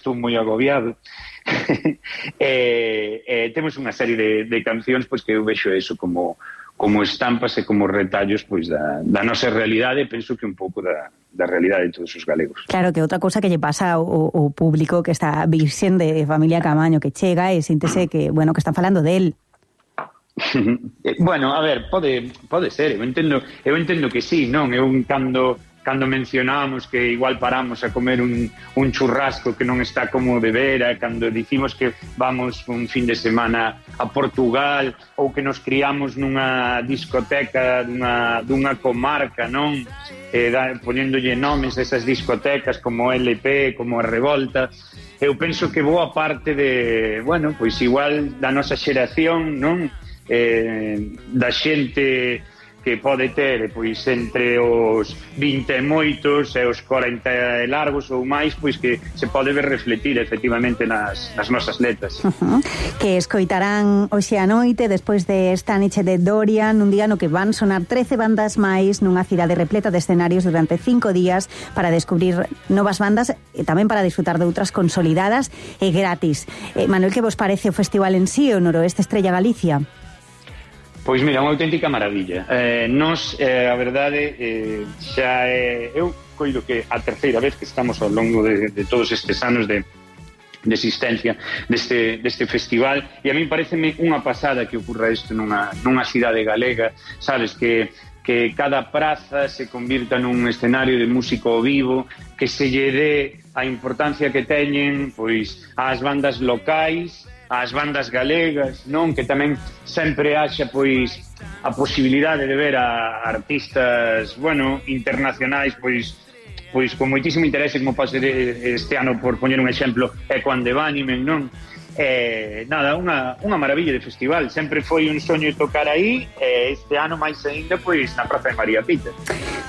estou moi agobiado. Temos unha serie de cancións pois que eu vexo eso como estampas e como retallos pois da nosa realidade, e penso que un pouco da realidade de todos os galegos. Claro, que outra cousa que lle pasa ao público que está virxen de Familia Camaño, que chega e síntese que, bueno, que están falando del. Bueno, a ver, pode ser, eu entendo que sí, non? Eu cando mencionamos que igual paramos a comer un churrasco que non está como de vera, cando dicimos que vamos un fin de semana a Portugal, ou que nos criamos nunha discoteca dunha comarca, non? Poñéndolle nomes a esas discotecas como LP, como a Revolta. Eu penso que boa parte de, bueno, pois igual da nosa xeración, non? Da xente que pode ter pois entre os 20 e moitos e os 40 e largos ou máis, pois que se pode ver refletir efectivamente nas nosas letras. Que escoitarán hoxe a noite despois de esta noite de Dorian, un día no que van sonar 13 bandas máis nunha cidade repleta de escenarios durante 5 días para descubrir novas bandas e tamén para disfrutar de outras consolidadas e gratis. Manuel, que vos parece o festival en sí, o Noroeste Estrella Galicia? Pois mira, unha auténtica maravilla. A verdade, xa eu coido que a terceira vez que estamos ao longo de todos estes anos de existencia deste festival, e a mí pareceme unha pasada que ocurra isto nunha cidade galega, sabes, que cada praza se convirta nun escenario de música ao vivo, que se lle dé a importancia que teñen pois ás bandas locais, ás bandas galegas, non? Que tamén sempre haxa pois a posibilidade de ver a artistas, bueno, internacionais pois con moitísimo interese, como pode ser este ano, por poñer un exemplo, Echo and the Bunnymen, non? Nada, unha maravilla de festival. Sempre foi un soño tocar aí, este ano máis aínda pois na Praza de María Pita.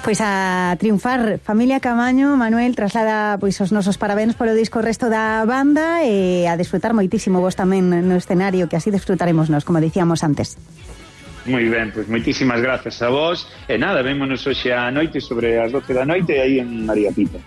Pois a triunfar, Familia Camaño. Manuel, traslada pois os nosos parabéns polo disco resto da banda e a desfrutar moitísimo vos tamén no escenario, que así desfrutaremos nós, como dicíamos antes. Moi ben, pois moitísimas grazas a vos, e nada, vémonos hoxe a noite sobre as 12 da noite aí en María Pita.